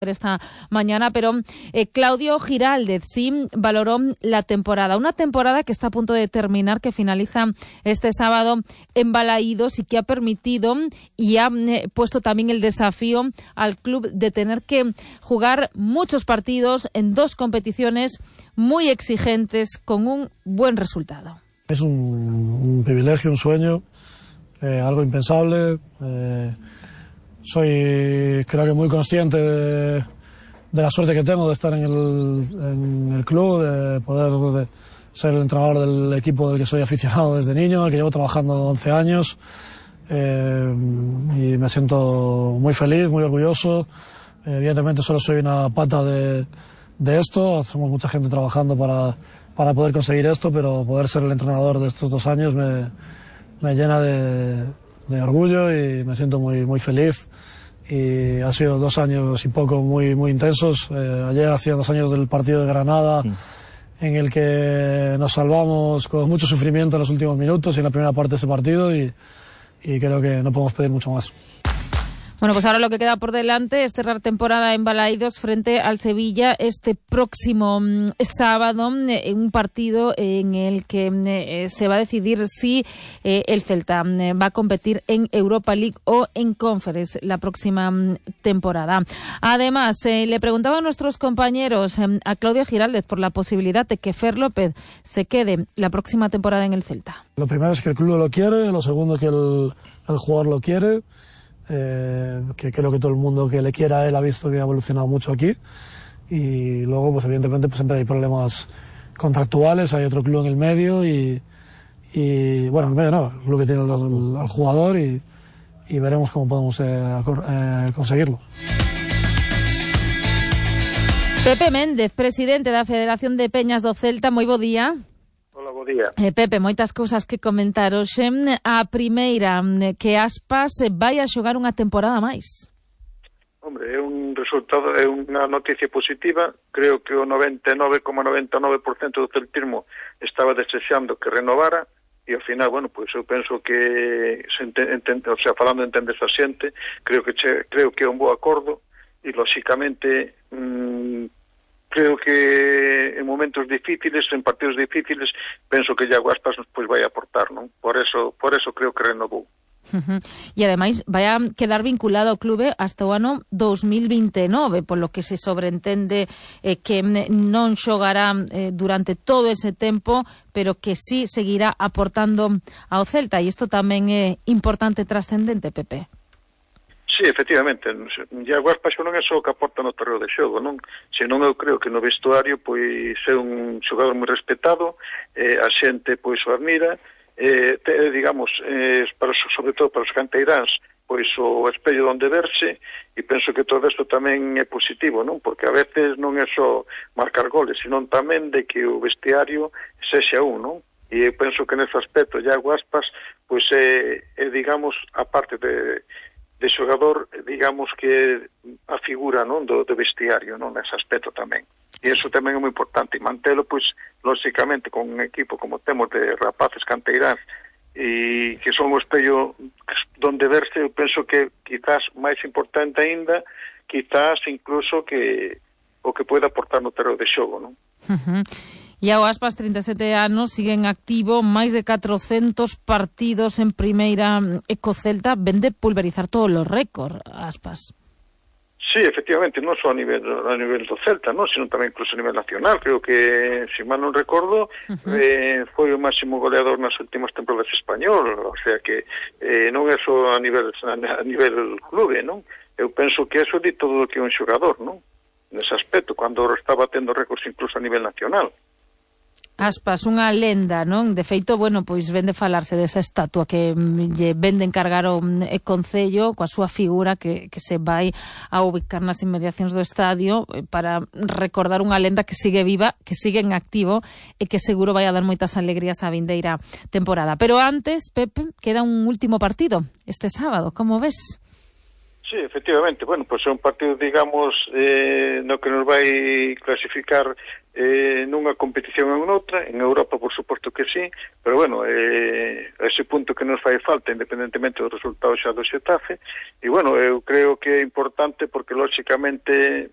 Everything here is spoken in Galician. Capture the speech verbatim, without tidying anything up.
esta mañana, pero eh, Claudio Giraldez sí valoró la temporada, una temporada que está a punto de terminar, que finaliza este sábado en Balaídos y que ha permitido y ha eh, puesto también el desafío al club de tener que jugar muchos partidos en dos competiciones muy exigentes con un buen resultado. Es un, un privilegio, un sueño, eh, algo impensable. Eh, Soy, creo que muy consciente de, de la suerte que tengo de estar en el, en el club, de poder de ser el entrenador del equipo del que soy aficionado desde niño, al que llevo trabajando once años. Eh, y me siento muy feliz, muy orgulloso. Eh, evidentemente solo soy una pata de, de esto. Somos mucha gente trabajando para, para poder conseguir esto, pero poder ser el entrenador de estos dos años me, me llena de... de orgullo y me siento muy muy feliz. Y ha sido dos años y poco muy muy intensos. Eh, ayer hacía dos años del partido de Granada, sí, en el que nos salvamos con mucho sufrimiento en los últimos minutos y en la primera parte de ese partido, y, y creo que no podemos pedir mucho más. Bueno, pues ahora lo que queda por delante es cerrar temporada en Balaídos frente al Sevilla este próximo mm, sábado, eh, un partido en el que eh, se va a decidir si eh, el Celta eh, va a competir en Europa League o en Conference la próxima mm, temporada. Además, eh, le preguntaban a nuestros compañeros, eh, a Claudio Giraldez, por la posibilidad de que Fer López se quede la próxima temporada en el Celta. Lo primero es que el club lo quiere, lo segundo que el, el jugador lo quiere. Eh, que creo que todo el mundo que le quiera a él ha visto que ha evolucionado mucho aquí, y luego pues evidentemente pues siempre hay problemas contractuales, hay otro club en el medio y, y bueno, en el medio no, el club que tiene al, al jugador, y, y veremos cómo podemos eh, eh, conseguirlo. Pepe Méndez, presidente da Federación de Peñas do Celta, moi bo día. Hola, bo día. Eh, Pepe, moitas cousas que comentar hoxe. A primeira, que Aspas vai a xogar unha temporada máis. Hombre, é un resultado, é unha noticia positiva. Creo que o noventa e nove coma noventa e nove por cento do celtismo estaba desexando que renovara, e ao final, bueno, pois eu penso que se entende, o sea, falando de entender a xente, creo que che, creo que é un bo acordo, e lóxicamente mmm, creo que en momentos difíciles, en partidos difíciles, penso que Iago Aspas pois vai aportar, non? Por eso, por eso creo que renovou. Uh-huh. E ademais vai a quedar vinculado ao clube hasta o ano dos mil vinte e nove, polo que se sobreentende eh, que non xogará eh, durante todo ese tempo, pero que sí seguirá aportando ao Celta, e isto tamén é importante e trascendente, Pepe. Sí, efectivamente, Iago Aspas non é só o que aporta no terreo de xogo, non? Senón eu creo que no vestuario pois é un xogador moi respetado, eh, a xente pois o admira, eh, te, digamos, eh, para, sobre todo para os canteiráns, pois o espello onde verse, e penso que todo isto tamén é positivo, non? Porque a veces non é só marcar goles, senón tamén de que o vestiario sexa un, non? E eu penso que nese aspecto Iago Aspas pois é, é digamos, a parte de de xogador, digamos que a figura, non, do, do vestiario, non, nese aspecto tamén. E iso tamén é moi importante, e mantelo, pois, lóxicamente, con un equipo como temos de rapaces canteiráns e que son o espello donde verse, eu penso que quizás máis importante aínda, quizás incluso que o que pode aportar no terreo de xogo, non? Uh-huh. Iago Aspas, trinta e sete anos, sigue en activo, máis de catrocentos partidos en primeira eco Celta, vende pulverizar todos os récords, Aspas. Sí, efectivamente, non só a nivel a nivel do Celta, non, sino tamén incluso a nivel nacional. Creo que, se mal non recordo, uh-huh. eh, foi o máximo goleador nas últimas temporadas español, o sea que eh, non é só a nivel a nivel clube, non? Eu penso que eso di todo o que é un xogador, non? Nese aspecto, cando está batendo récords incluso a nivel nacional. Aspas, unha lenda, non? De feito, bueno, pois vende falarse desa estatua que lle vende encargar o Concello coa súa figura que, que se vai a ubicar nas inmediacións do estadio para recordar unha lenda que sigue viva, que sigue en activo e que seguro vai a dar moitas alegrías á vindeira temporada. Pero antes, Pepe, queda un último partido este sábado, como ves? Sí, efectivamente, bueno, pues é un partido, digamos, eh, no que nos vai clasificar eh, nunha competición ou noutra, en Europa por suposto que sí, pero bueno, eh, ese punto que nos fai falta, independentemente do resultado xa do Xetafe, e bueno, eu creo que é importante porque, lóxicamente,